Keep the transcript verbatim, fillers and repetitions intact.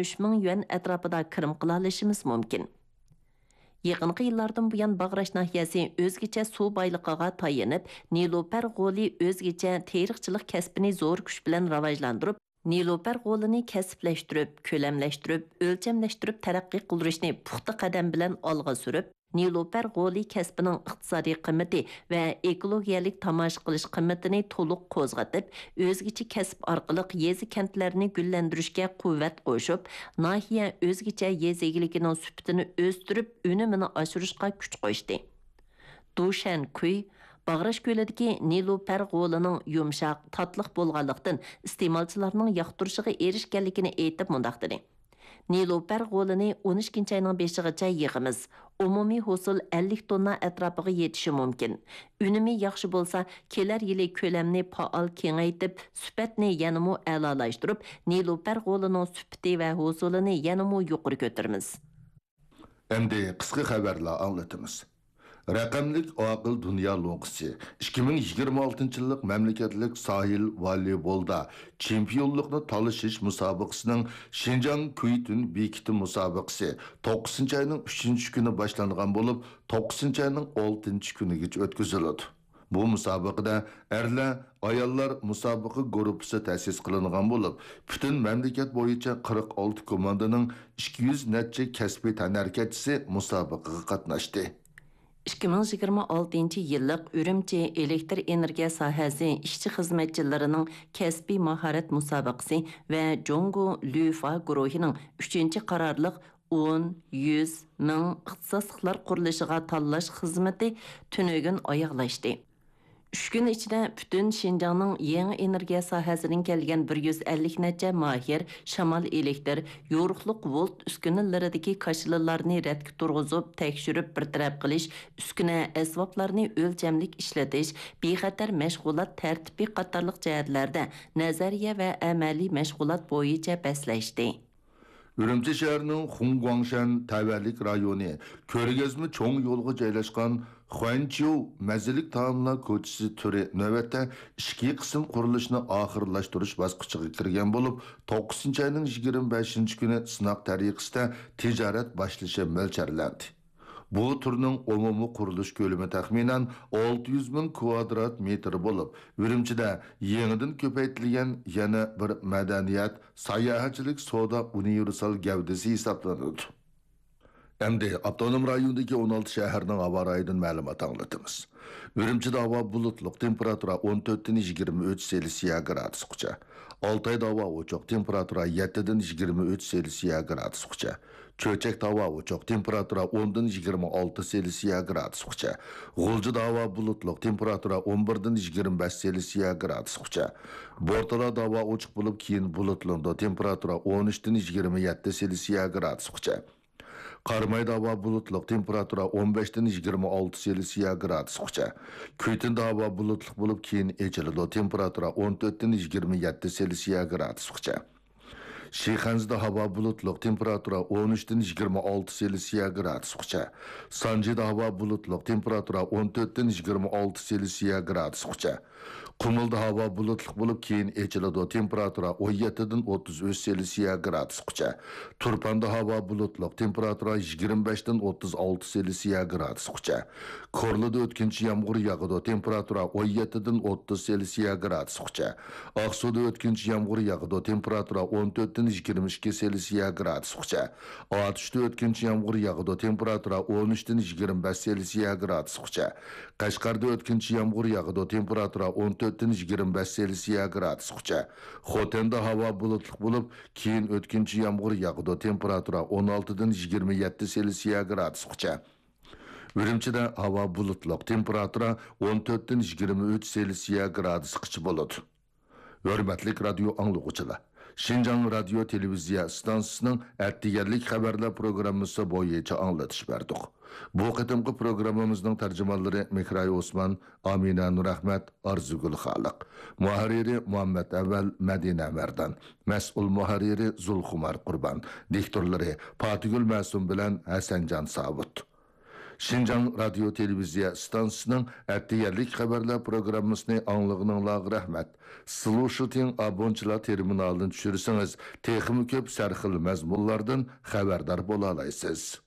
ئۈچ مىڭ يۈەن ئەتراپىدا كىرىم قىلالىشىمىز مۇمكىن. يېقىنقى يىللاردىن بۇيان، باغراش ناھىيەسى ئۆزگىچە سۇ بايلىقىغا تايىنىپ، نېلۇپەر غولى ئۆزگىچە تېرىقچىلىق كەسپىنى زور كۈچ بىلەن راۋاجلاندۇرۇپ، نېلۇپەر غولىنى كەسىپلەشتۈرۈپ، كۆلەملەشتۈرۈپ، ئۆلچەملەشتۈرۈپ تەرەققىي قىلدۇرۇشنى پۇختا قەدەم بىلەن ئالغا سۈرۈپ، نېلۇپەر غولى كەسپىنىڭ ئىقتىسادىي قىممىتى ۋە ئېكولوگىيەلىك تاماشا قىلىش قىممىتىنى تولۇق قوزغىتىپ، ئۆزگىچە كەسىپ ئارقىلىق يېزا-كەنتلەرنى گۈللەندۈرۈشكە قۇۋۋەت قوشۇپ، ناھىيە ئۆزگىچە يېزا ئىگىلىكىنىڭ سۈپىتىنى ئۆستۈرۈپ، ئۈنۈمىنى ئاشۇرۇشقا كۈچ قوشتى. دۇشەن كۈي باغراش كۆلىدىكى نېلۇپەر غولىنىڭ يۇمشاق، تاتلىق بولغانلىقتىن، ئىستېمالچىلارنىڭ ياقتۇرۇشىغا ئېرىشكەنلىكىنى ئېيتىپ، مۇنداق دېدى: نېلۇپەر غولىنى ئون ئىككىنچى ئاينىڭ بېشىغىچە يىغىمىز. ئومۇمىي ھوسۇل ئەللىك توننا ئەتراپىغا يېتىشى مۇمكىن. ئۈنۈمى ياخشى بولسا، كېلەر يىلى كۆلەمنى پائال كېڭەيتىپ، سۈپەتنى يەنىمۇ ئەلالاشتۇرۇپ، نېلۇپەر غولىنىڭ سۈپىتى ۋە ھوسۇلىنى يەنىمۇ يۇقىرى كۆتۈرىمىز. ئەمدى قىسقا خەۋەرلەر ئاڭلىتىمىز. رەقەملىك ئاقىل دۇنيا لوڭقىسى ئىككى مىڭ يىگىرمە ئالتىنچى يىللىق مەملىكەتلىك ساھىل ۋالىبولدا چېمپىيونلۇقنى تالىشىش مۇسابىقىسىنىڭ شىنجاڭ كۈيتۈن بېكىتى مۇسابىقىسى توققۇزىنچى ئاينىڭ ئۈچىنچى كۈنى باشلانغان بولۇپ، توققۇزىنچى ئاينىڭ ئالتىنچى كۈنىگىچە ئۆتكۈزۈلىدۇ. بۇ مۇسابىقىدە ئەرلەر، ئاياللار مۇسابىقە گۇرۇپپىسى تەسىس قىلىنغان بولۇپ، پۈتۈن مەملىكەت بويىچە قىرىق ئالتە كوماندىنىڭ ئىككى يۈز نەچچە كەسپىي تەنھەرىكەتچىسى مۇسابىقىگە قاتناشتى. ئىككى مىڭ يىگىرمە ئالتىنچى يىللىق ئۈرۈمچى ئېلېكتر ئېنېرگىيە ساھەسى ئىشچى-خىزمەتچىلىرىنىڭ كەسپىي ماھارەت مۇسابىقىسى ۋە جۇڭگو لۈفا گۇرۇھىنىڭ ئۈچىنچى قارارلىق ئون، يۈز، مىڭ ئىختىساسلىقلار قۇرۇلۇشىغا تاللاش خىزمىتى تۈنۈگۈن ئاياغلاشتى. ئۈچ كۈن ئىچىدە پۈتۈن شىنجاڭنىڭ يېڭى ئېنېرگىيە ساھەسىدىن كەلگەن بىر يۈز ئەللىك نەچچە ماھىر شامال ئېلېكتر، يورۇقلۇق ۋولت ئۈسكۈنىلىرىدىكى كاشىلىلارنى رەتكە تۇرغۇزۇپ، تەكشۈرۈپ بىر تەرەپ قىلىش، ئۈسكۈنە ئەسۋابلارنى ئۆلچەملىك ئىشلىتىش، بىخەتەر مەشغۇلات تەرتىپى قاتارلىق جەھەتلەردە نەزەرىيە ۋە ئەمەلىي مەشغۇلات بويىچە بەسلەشتى. ئۈرۈمچى شەھىرىنىڭ خۇڭگۇاڭشەن تەۋەلىك رايونى كۆرگەزمە چوڭ يولىغا جايلاشقان خۇەنچيۇ مەززىلىك تائاملار كوچىسى تۈرى نۆۋەتتە ئىچكى قىسىم قۇرۇلۇشىنى ئاخىرلاشتۇرۇش باسقۇچىغا كىرگەن بولۇپ، توققۇزىنچى ئاينىڭ يىگىرمە بەشىنچى كۈنى سىناق تەرىقىسىدە تىجارەت باشلىشى مۆلچەرلەندى. بۇ تۈرنىڭ ئومۇمىي قۇرۇلۇش كۆلىمى تەخمىنەن ئالتە يۈز مىڭ كۋادرات مېتىر بولۇپ، ئۈرۈمچىدە يېڭىدىن كۆپەيتىلگەن يەنە بىر مەدەنىيەت، ساياھەتچىلىك سودا ئۇنىۋېرسال گەۋدىسى ھېسابلىنىدۇ. ئەمدى ئاپتونوم رايوندىكى ئون ئالتە شەھەرنىڭ ھاۋا رايىدىن مەلۇمات ئاڭلىتىمىز. ئۈرۈمچىدە ھاۋا بۇلۇتلۇق، تېمپېراتۇرا ئون تۆتتىن يىگىرمە ئۈچ سېلسىيە گرادۇسقىچە. ئالتايدا ھاۋا ئوچۇق، تېمپېراتۇرا يەتتىدىن يىگىرمە ئۈچ سېلسىيە گرادۇسقىچە. چۆچەكتە ھاۋا ئوچۇق، تېمپېراتۇرا ئوندىن يىگىرمە ئالتە سېلسىيە گرادۇسقىچە. غۇلجىدا ھاۋا بۇلۇتلۇق، تېمپېراتۇرا ئون بىردىن يىگىرمە بەش سېلسىيە گرادۇسقىچە. بورتالادا ھاۋا ئوچۇق بولۇپ، كېيىن بۇلۇتلىنىدۇ، تېمپېراتۇرا ئون ئۈچتىن يىگىرمە يەتتە سېلسىيە گرادۇسقىچە. قارامايدا ھاۋا بۇلۇتلۇق، تېمپېراتۇرا ئون بەشتىن يىگىرمە ئالتە سېلسىيە گرادۇسقىچە. كۈيتۈندە ھاۋا بۇلۇتلۇق بولۇپ، كېيىن ئېچىلىدۇ، تېمپېراتۇرا ئون تۆتتىن يىگىرمە يەتتە سېلسىيە گرادۇسقىچە. شىخەنزىدە ھاۋا بۇلۇتلۇق، تېمپېراتۇرا ئون ئۈچتىن يىگىرمە ئالتە سېلسىيە گرادۇسقىچە. سانجىدا ھاۋا بۇلۇتلۇق، تېمپېراتۇرا ئون تۆتتىن يىگىرمە ئالتە سېلسىيە گرادۇسقىچە. قۇمۇلدا ھاۋا بۇلۇتلۇق بولۇپ، كېيىن ئېچىلىدۇ، تېمپېراتۇرا ئون يەتتىدىن ئوتتۇز ئۈچ سېلسىيە گرادۇسقىچە. تۇرپاندا ھاۋا بۇلۇتلۇق، تېمپېراتۇرا يىگىرمە بەشتىن ئوتتۇز ئالتە سېلسىيە گرادۇسقىچە. كورلىدا ئۆتكۈنچى يامغۇر ياغىدۇ، تېمپېراتۇرا ئون يەتتىدىن ئوتتۇز سېلسىيە گرادۇسقىچە. ئاقسۇدا ئۆتكۈنچى يامغۇر ياغىدۇ، تېمپېراتۇرا ئون تۆتتىن يىگىرمە ئىككى سېلسىيە گرادۇسقىچە. ئاتۇشتا ئۆتكۈنچى يامغۇر ياغىدۇ، تېمپېراتۇرا ئون ئۈچتىن يىگىرمە بەش سېلسىيە گرادۇسقىچە. قەشقەردە ئۆتكۈنچى يامغۇر ياغىدۇ، تېمپېراتۇرا ئون تۆتتىن يىگىرمە بەش سېلسىيە گرادۇسقىچە. خوتەندە ھاۋا بۇلۇتلۇق بولۇپ، كېيىن ئۆتكۈنچى يامغۇر ياغىدۇ، تېمپېراتۇرا ئون ئالتىدىن يىگىرمە يەتتە سېلسىيە گرادۇسقىچە. ئۈرۈمچىدە ھاۋا بۇلۇتلۇق، تېمپېراتۇرا ئون تۆتتىن يىگىرمە ئۈچ سېلسىيە گرادۇسقىچە بولىدۇ. ھۆرمەتلىك رادىيو ئاڭلىغۇچىلار! شىنجاڭ رادىيو تېلېۋىزىيە ئىستانسىسىنىڭ ئەتىگەنلىك خەۋەرلەر پروگراممىسى بويىچە ئاڭلىتىش بەردۇق. بۇ قېتىمقى پروگراممىمىزنىڭ تەرجىمانلىرى مىكراي ئوسمان، ئامىنە نۇرئەخمەت، ئارزۇگۈل خالىق. مۇھەررىرى مۇھەممەت ئەۋەل، مەدىنە مەردان. مەسئۇل مۇھەررىرى زۇلخۇمار قۇربان. دىكتورلىرى پاتىگۈل مەسۇم بىلەن ھەسەنجان ساۋۇت. شىنجاڭ رادىيو تېلېۋىزىيە ئىستانسىسىنىڭ ئەتىگەنلىك خەۋەرلەر پروگراممىسىنى ئاڭلىغىنىڭلارغا رەھمەت. سلۇشىتىڭ ئابونچىلار تېرمىنالىنى چۈشۈرسىڭىز، تېخىمۇ كۆپ سەرخىل مەزمۇنلاردىن خەۋەردار بولالايسىز.